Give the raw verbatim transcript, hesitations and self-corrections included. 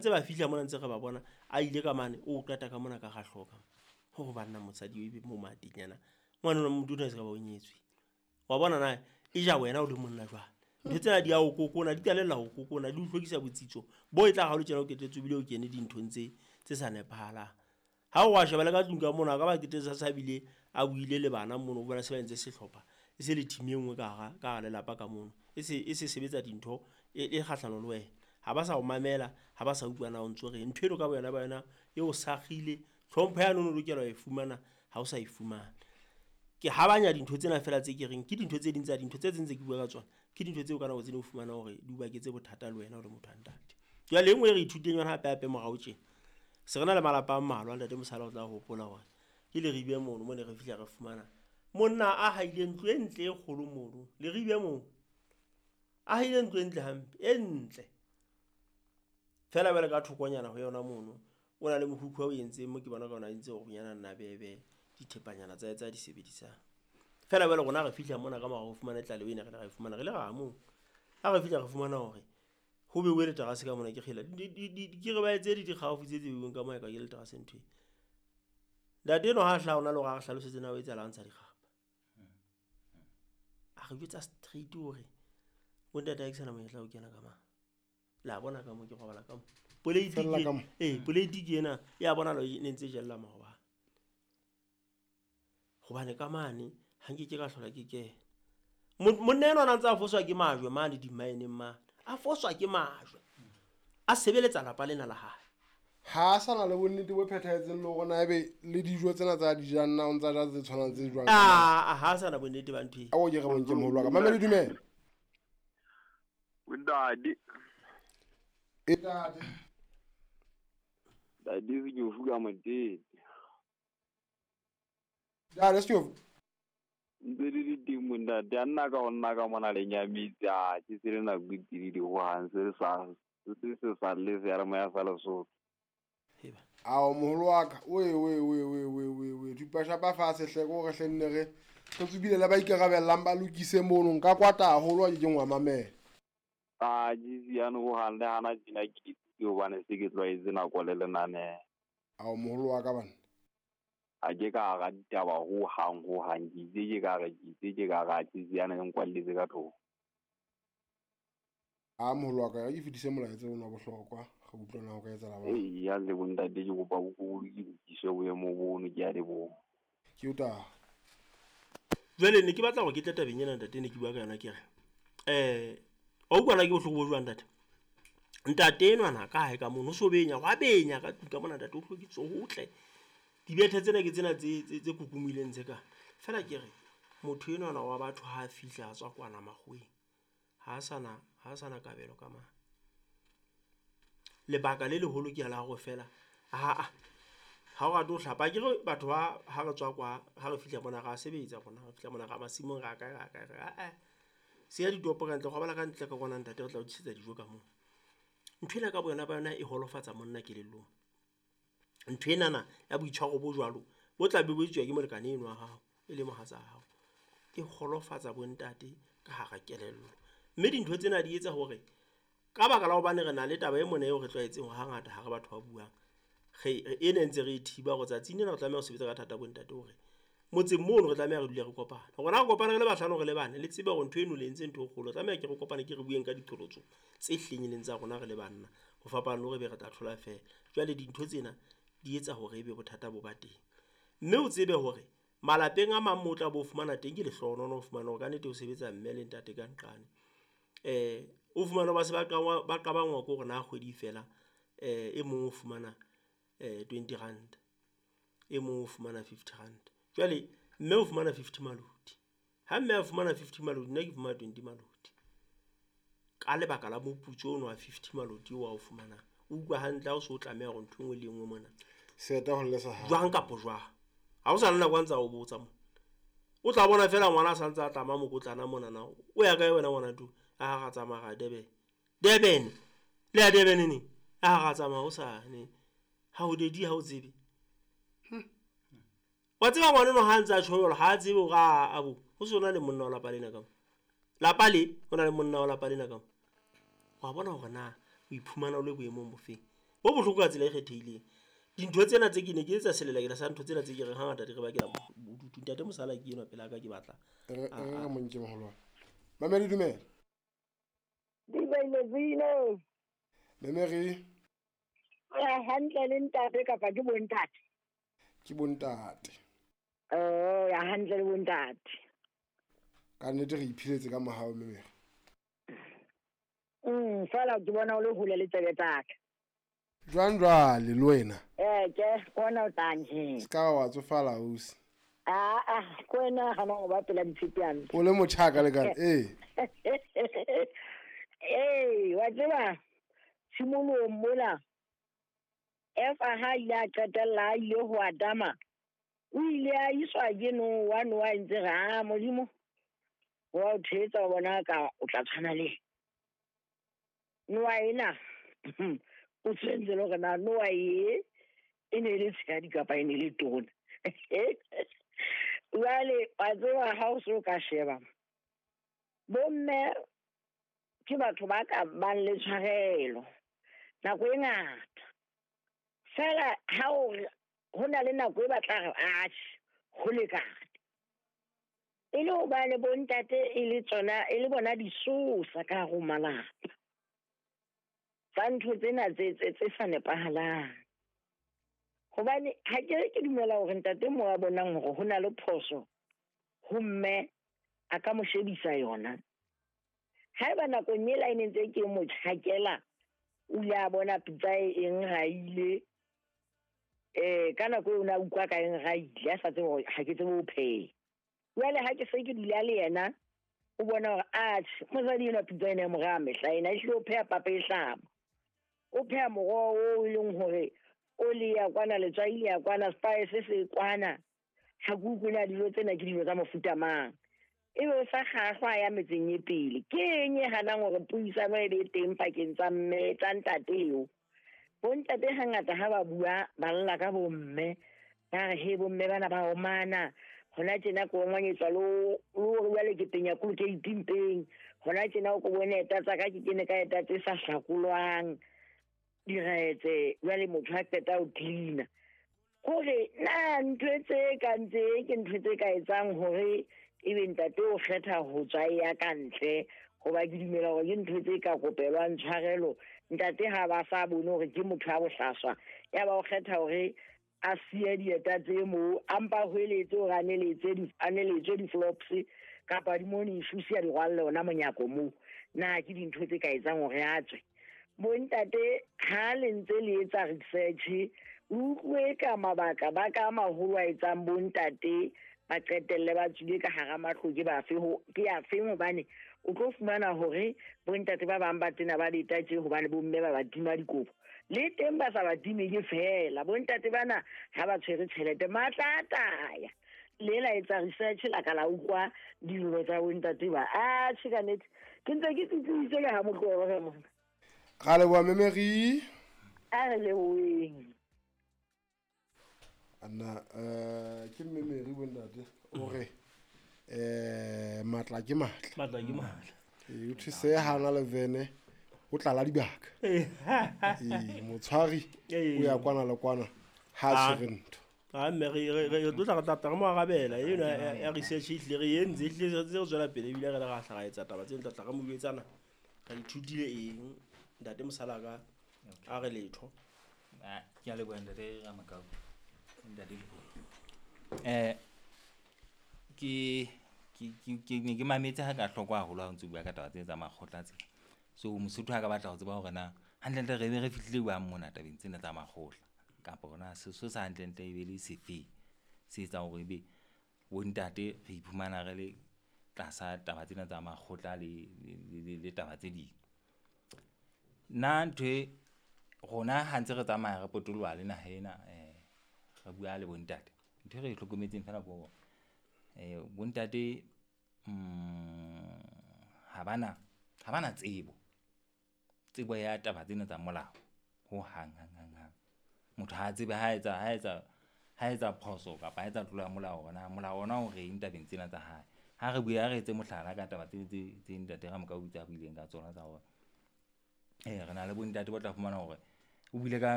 Ntse ba fihla mona ntse re ba bona a ile ka mane o qeta ka mona ka ga hloka hore banna mosadi o ebe mo matinyana ngwana o motho o se ka ba o nyetswe. Wa bona na e ja wena o le monna jwang. Ntho tsena di a o kokona, di qalella ho kokona, di o hlokisa botsitso bo e tla ha o le tjena o qetetse o bile o kene dinthong tse tse sa nepahalang. Ha o wa sheba le ka tlung ka mona, a ka ba qetetse sa bile a buile le bana mono, o bona se ba entse sehlopha e se le team e nngwe ka hara ka hara lelapa ka mono. E se e se sebetsa dintho e e kgahlano le wena. Ha ba sa o mamela, ha ba sa utlwa na o ntso reng. Ntho eno ka boyona ba yona e o sakgile, tlhompho yane o no lokela ho e fumana ha o sa e fumana. Ke habanya dintho tsena feela tse ke reng ke dintho tse ding tsa dintho tse tse ntse ke bua ka tsona. Ke dintho tseo ka nako tse ding o fumana hore di o baketse bothata le wena o le motho wa ntate. Jwale e nngwe e re ithutileng yona hape hape morao tjena. Se re na le malapa a mmalwa ntate Mosala o tla hopola hore ke Leribe mono mo ne re fihla re fumana monna a haile ntlo e ntle e kgolo mono Leribe moo. A haile ntlo e ntle hampe, e ntle. Feela jwale ka thokonyana ho yona mono o na le mokhukhu o entseng mo ke bona ka ona entse hore bonyana nna bebe dithepanyana tsa tsa di sebedisang. Feela jwale rona re fihla mona ka mora ho fumana tlaleho ena re le ra e fumana re le ra moo. Ha re fihla re fumana hore ho beuwe leterase ka mona ke kgela ke re ba etse di dikgaufu tse tse beuweng ka moo ka ke leterase ntho e. Ntate eno ha hlaha ona le hore a re hlalosetse na o etsahala ntsha dikgapa. A re jwetsa straight hore bo ntate ha ke sana monyetla o kena ka mang. La bona ka mo ke robala ka mo. Poleiti ke eh poleiti ke ena ya bona lo ne ntse jella maobane. Hobane ka mane ha nke ke ka hlola ke kena. Monna enwa a ntse a foswa ke majwe mane di-mine-eng mane. A foswa ke majwe. A sebeletsa lapa lena la hae. Ha a sana le bonnete bo phethahetseng le hore na ebe le dijo tsena tsa di jang na o ntsa ja tse tshwanang tse jwang. Ah, ha sana bonnete ba ntho e. A o ke re bonke moholo wa ka. Mamele dumela. Ntate. E ntate. Ntate se ke o fuka motete. Ntate se o ntse di di teng mo ntate a nna ka go nna ka mona le nyamitse a ke se le nako e telele ho hang se le sa se se sa le seyalemoya sa Lesotho. Ao moholo wa ka oe oe oe oe oe oe oe thupa shapa fatshe hle ko re hle nne re re tsubile le ba ikarabellang ba lokise mono nka kwata haholo ha ke keng wa mamela. A ke siane ho hang le hana tjena ke ke hobane se ke tlwaetse nako le lenaneo. Ao moholo wa ka bana. A ke ka hara ditaba ho hang ho hang ke itse ke ka re ke itse ke ka re ke siane ke nkwalletse ka tlung. A moholo wa ka ke fetise molaetsa ona wa bohlokwa re utlwana ho ka etsahala ba. Ee ya le bontate ke kopa bo ko ke lokise boemo bono ke a leboha. Ke o ta. Jwale ne ke batla hore ke tle tabeng ena ntate ne ke bua ka yona ke re eh o utlwana ke bohloko bo jwang ntate. Ntate enwa na ka hae ka mono o so benya wa benya ka tlung ka mona ntate o hlwekisitse hotle. Dibethe tsena ke tsena tse tse kukumileng tse ka. Feela ke re motho enwa wa batho ha a fihla a tswa kwana makgoweng ha sana ha sana kabelo ka mang. Lebaka le leholo ke la hore feela ha a ha o rate ho hlapa ke re batho ba ha re tswa kwa ha re fihla mona ra sebetsa rona re fihla mona ra masimong ra kae ra kae ra eh se ya ditopo ka ntle robala ka ntle ka kwana ntate re tla o tlisetsa dijo ka moo. Ntho ena ka boyona ba yona e holofatsa monna kelellong. Ntho enana ya boitshwaro bo jwalo bo tla be bo etswa ke molekane eno wa hao e le mohatsa hao e holofatsa bontate ka hara kelello. Mme dintho tsena di etsa hore ka baka la hobane re na le taba e mona eo re tlwaetseng hore hangata ha re batho ba buang re e ne ntse re e thiba hore tsatsing lena re tlameha ho sebetsa ka thata bontate hore motseng mono re tlameha re dule re kopana. Rona re kopana re le bahlano re le bane le tsebe hore ntho eno le entse ntho e kgolo tlameha ke re kopane ke re bueng ka diqholotso tse hlengileng tsa rona re le banna ho fapana le hore be re tla thola feela. Jwale dintho tsena di etsa hore ebe bothata bo ba teng. Mme o tsebe hore malapeng a mang mo tla bo fumana teng ke lehlohonolo ho fumana hore ka nnete o sebetsa mme le ntate ka nqane. Eh o fumana ba se ba qabangwa ba qabangwa ke hore na kgwedi fela eh e mong o fumana eh twenty rand e mong o fumana fifty rand. Jwale mme o fumana fifty maloti. Ha mme a fumana fifty maloti nna ke fumana twenty maloti. Ka lebaka la moputso ono wa fifty maloti o a o fumanang. O utlwa hantle ha o so tlameha hore ntho e nngwe le e nngwe mona. Seta ho lle sa hao. Jwang kapa jwang. Ha o sa le nako a ntsa o botsa mo. O tla bona feela ngwana a sa ntse a tlama mokotlana mona na. O ya kae wena ngwana tu? A ra tsamaya ra Durban. Durban. Le ya Durban neng? A ra tsamaya o sa ne. Ha o dedi ha o tsebe. Wa tseba ngwana no ha ntse a tjho ha a tsebe hore a abo. Ho sona le monna wa lapa lena ka mo. Lapa le o na le monna wa lapa lena ka mo. Wa bona hore na o iphumana o le boemong bofeng. Bo bohloko ka tsela e kgethehileng. Dintho tsena tse ke ne ke etsa selelekela sa ntho tsena tse ke reng hangata di re bakela bodutu. Ntate Mosala ke enwa pela ka ke batla. Re re mo nke moholo wa. Mamedi dumela. Dumela Zino. Memeri. Ya hantle le ntate kapa ke bontate? Ke bontate. Oh, ya hantle le bontate. Ka nnete re iphiletse ka mohao memeri. Mm, fela ke bona o le hole le tsebe tsaka. Jwang jwale le wena? Eh, ke bona o tanje. Ska wa tsofala ausi. Ah ah, ko wena ga no ba pela ditshepiane. O le motjha ka lekana, eh. Eh, wa tseba tshimolong mona Efa ha ile a qetella a ile ho Adama, o ile a iswa ke Noa, Noa ntse re a Modimo wa o thetsa o bona ka o tla tshwana le Noa ena. O tshwentse le hore na Noa e e ne le tshehadi kapa e ne le tona. Jwale wa tseba ha o so ka sheba bomme ke batho ba ka bang le tshwarelo nako e ngata. Fela ha o ho na le nako e batla re atjhe ho lekane. E le hobane bontate e le tsona e le bona disosa ka hare ho malapa tsa ntho tsena tse tse tse sa nepahalang. Hobane ha ke re ke dumela hore ntate mo a bonang hore ho na le phoso ho mme a ka mo shebisa yona. Haeba nakong ela e ne ntse ke mo tjhakela o ile a bona pitsa e eng raile, eh ka nako eo o ne a utlwa ka eng raile a sa tsebe hore ha ke tsebe ho pheha. Jwale ha ke se ke dula le yena o bona hore atjhe mosadi enwa pitsa ena e mo raya mehla ena, ehlile o pheha papa e hlama. O pheha moroho oo e leng hore oli ya kwana, letswai le ya kwana, spice se kwana. Ha ke utlwe na dijo tsena ke dijo tsa mofuta mang. Ebe o sa kgahlwa ya metseng e pele. Ke eng e hanang hore puisano e be teng pakeng tsa mme tsa ntate eo? Bontate hangata ha ba bua ba lla ka bomme, ba re he bomme bana ba omana. Hona tjena ko ngwanyetswa lo lo re jwale ke penya Colgate mpeng. Hona tjena o ko bone eta tsa ka ke kene ka eta tse sa hlakolwang diretse, jwale motho ha qeta ho cleaner. Hore na ntho tse ka ntse ke ntho tse ka etsang hore ebe ntate o kgetha ho tswa ya ka ntle, hoba ke dumela hore ke ntho tse ka kopelwang tshwarelo. Ntate ha ba sa bone hore ke motho a bohlaswa, ya ba o kgetha hore a siye dieta tse moo, a mpa hweletse hore a neletse di, a neletse di-flops kapa di-morning shoes a di rwalle ona monyako moo. Na ke dintho tse ka etsang hore a tswe? Bontate ha le ntse le etsa research, utlwe ka mabaka ba ka maholo a etsang bontate ba qetelle ba tswile ka hara matlo ke bafe ho ke a feng, hobane o tlo fumana hore bontate ba bang ba tena ba leta tje hobane bomme ba ba tima dikobo. Le teng ba sa ba time ke fela bontate bana ha ba tshwere tjhelete matla a taya. Le la etsa research la ka la utlwa dillo tsa bontate ba. Atjhe ka nnete ke ntse ke tsitsitse le ha motlobo re mona. Ra leboha Memeri. A re leboheng. Anna eh ke Memeri bontate o re eh matla ke matla. Matla ke matla. E o thuse hana le vene o tlala dibaka. Eh motshwari o ya kwana le kwana ha tshwere ntho. Ah mme re re re tlo tla re tla re mo arabela eno ya research e hlile re entse ehlile re tswela pele ebile re le ra hla ra etsa taba tseno tla tla re mo jwetsana re ithutile eng. Ntate Mosalaka a re letho. Ah ke a leboha ntate Ramakau. Ntate eh ke ke ke ne ke mametse ha ka hloko haholo ha o ntse bua ka taba tse tsa makgotla tsena. So Mosotho ha ka batla ho tseba hore na hantlentle re be re fihlile jwang mona tabeng tsena tsa makgotla kapa hona seso sa hantlentle e be le sefe se etsang hore ebe bontate re iphumana re le tlasa taba tsena tsa makgotla le le le taba tse ding. Nna ntho e rona ha ntse re tsamaya re potoloha le naha ena eh re bua le bontate, ntho e re e hlokometseng fela ke hore eh bontate mm ha bana ha bana tsebo tsebo ya taba tsena tsa molao ho hang hang hang hang. Motho ha tsebe ha etsa ha etsa ha etsa phoso kapa ha etsa tlolo ya molao, ona molao ona o reng tabeng tsena tsa hae. Ha re bua re etse mohlala ka taba tse tse tse ntate Ramokau tsa buileng ka tsona tsa hore eh re na le bontate ba tla fumana hore O buile ka